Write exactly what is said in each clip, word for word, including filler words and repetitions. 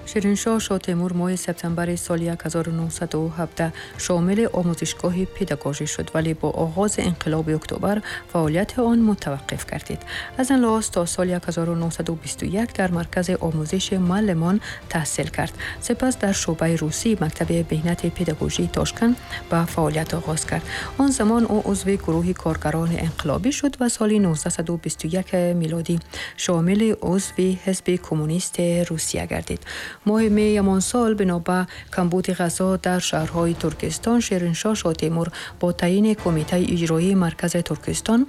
Шириншоҳ Шотемур моҳи септембри соли ҳазору нӯҳсаду ҳабдаҳ шомили омӯзишгоҳи педагогӣ шуд, вале бо оғози инқилоби октябр фаъолияти он мутаваққиф гардид. Аз ин лиҳоз то соли ҳазору нӯҳсаду бисту як дар маркази омӯзиши муаллимон таҳсил кард. Сипас дар шӯъбаи русии мактаби меҳнати педагогии Тошканд ба фаъолият оғоз кард. Он замон ӯ узви гурӯҳи коргарони инқилобӣ шуд ва соли нӯздаҳсаду бисту як милодӣ шомили узви ҳизби коммунисти Русия гардид. Моҳи меи ҳамон сол бино ба камбуди ғазо дар шаҳрҳои Туркистон, Шириншоҳ Шотемур бо таъйини Кумитаи иҷроии маркази Туркистон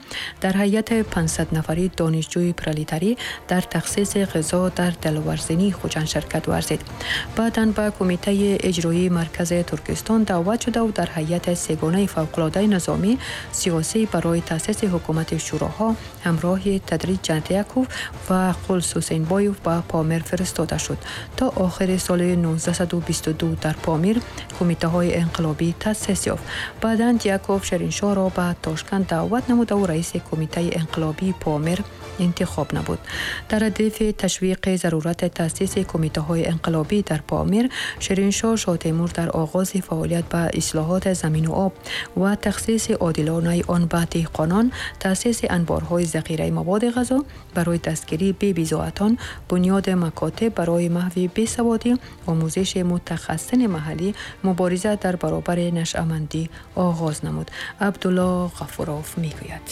дар ҳайати панҷсад нафари донишҷӯи пролетарӣ дар тахсиси ғизо дар Даловарзинии Хуҷанд ширкат варзид. Баъдан ба Кумитаи иҷроии маркази Туркистон даъват шудаву дар ҳайати сегонаи фавқулодаи низомӣ сиёсӣ барои таъсиси ҳукумати шӯроҳо ҳамроҳи Тадри Ҷандияков ва Қулсусенбоев ба Помир фиристода шуд. То охири соли нӯздаҳсаду бисту ду дар Помир кумитаҳои инқилобӣ таъсис ёфт. Баъдан Дьяков Шириншоҳро ба Тошканд даъват намудаву раиси Кумитаи инқилобии Помир интихоб намуд. Дар радифи ташвиқи зарурати таъсиси кумитаҳои инқилобӣ дар Помир, Шириншоҳ Шотемур дар оғози фаъолият ба ислоҳоти замину об ва тахсиси одилонаи он ба деҳқонон, таъсиси анборҳои захираи маводи ғазо барои дастгирии бебизоатон, бунёди макотиб барои маҳви бесаводӣ, омӯзиши мутахассисини маҳаллӣ, мубориза дар баробари нашъамандӣ оғоз намуд. Абдулло Ғафуров мегӯяд.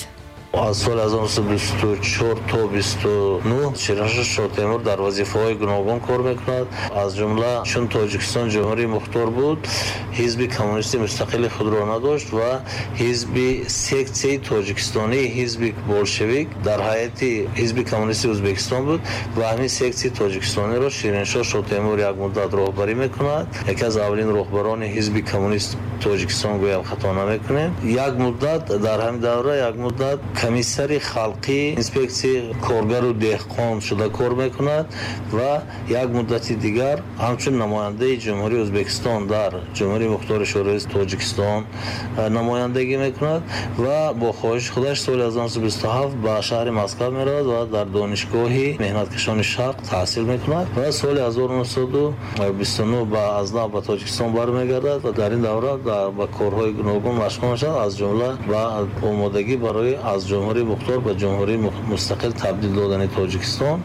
Аз соли ҳазору нӯҳсаду бисту чор то бисту нӯҳ Шириншоҳ Шотемур дар вазифаҳои гуногун кор мекунад. Аз ҷумла, чун Тоҷикистон ҷумҳурии мухтор буд, ҳизби коммунисти мустақили худро надошт ва ҳизби сексияи тоҷикистонии ҳизби болшевик дар ҳайати ҳизби коммунисти Ӯзбекистон буд ва ҳамин сексияи тоҷикистониро Шириншоҳ Шотемур як муддат роҳбарӣ мекунад. Яке аз аввалин роҳбарони ҳизби коммунист Тоҷикистон гӯям, хато намекунем. Як муддат дар ҳамин давра як муддат комиссари халқӣ инспексияи коргару деҳқон шуда кор мекунад ва як муддати дигар ҳамчун намояндаи Ҷумҳурии Ӯзбекистон дар Ҷумҳурии Мухтори Шӯравии Тоҷикистон намояндагӣ мекунад ва бо хоҳиши худаш соли ҳазору нӯҳсаду бисту ҳафт ба шаҳри Москва меравад ва дар Донишгоҳи меҳнаткашони Шарқ таҳсил мекунад ва соли ҳазору нӯҳсаду бисту нӯҳ ба аз нав ба Тоҷикистон бармегардад ва дар ин давра ба корҳои гуногун машғул мешавад, аз ҷумла ба омодагӣ барои аз ҷумҳурии мухтор ба ҷумҳурии мустақил табдил додани Тоҷикистон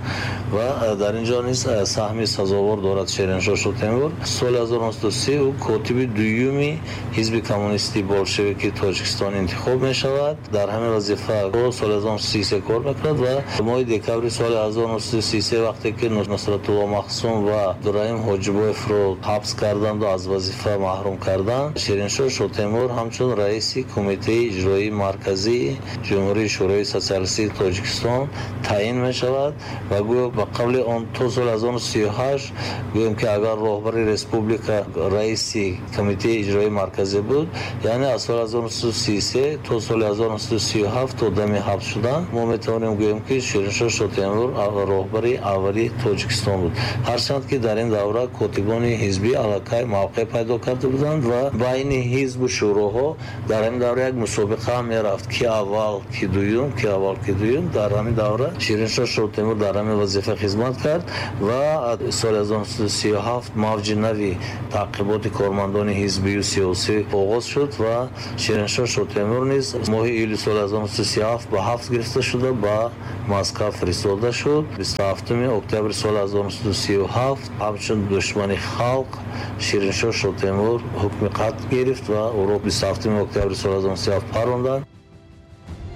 ва дар ин ҷо низ саҳми сазовор дорад Шириншоҳ Шотемур. Соли ҳазору нӯҳсаду си ӯ котиби дуюми ҳизби коммунисти болшевики Тоҷикистон интихоб мешавад. Дар ҳамин вазифа соли ҳазору нӯҳсаду сию се кор мекунад ва моҳи декабри соли ҳазору нӯҳсаду сию се, вақте ки Нусратулло Махсум ва Абдураҳим Ҳоҷибоевро ҳабс карданду аз вазифа маҳрум карданд, Шириншоҳ Шотемур ҳамчун раиси Кумитаи иҷроии марказии Ҷумҳурии Шӯрои Сотсиалистии Тоҷикистон таъин мешавад. Ва гӯё ба қавли он то соли ҳазору нӯҳсаду сию ҳашт гӯем ки агар роҳбари республика раиси Кумитаи иҷроии марказӣ буд, яъне аз соли ҳазору нӯҳсаду сию се то соли ҳазору нӯҳсаду сию ҳафт, то дами ҳабс шудан, мо метавонем гӯем ки Шириншоҳ Шотемур роҳбари аввали Тоҷикистон буд. Ҳарчанд ки дар ин давра котибони ҳизбӣ аллакай мавқеъ пайдо карда буданд ва байни ҳизбу шӯроҳо дар ҳамин давра як мусобиқа ҳам мерафт: ки аввал, ки дуюм, ки аввал, ки дуюм. Дар ҳамин давра Шириншоҳ Шотемур дар ҳамин вазифа хизмат кард ва соли ҳазору нӯҳсаду сию ҳафт мавҷи нави таъқиботи кормандони ҳизбию сиёсӣ оғоз шуд ва Шириншоҳ Шотемур низ моҳи июли соли ҳазору нӯҳсаду сию ҳафт ба ҳабс гирифта шуда, ба Москва фиристода шуд. бисту ҳафтуми октябри соли ҳазору нӯҳсаду сию ҳафт ҳамчун душмани халқ Шириншоҳ Шотемур ҳукми қатл гирифт ва ӯро бисту ҳафтуми октябри соли ҳазору нӯҳсаду сию ҳафт паронданд.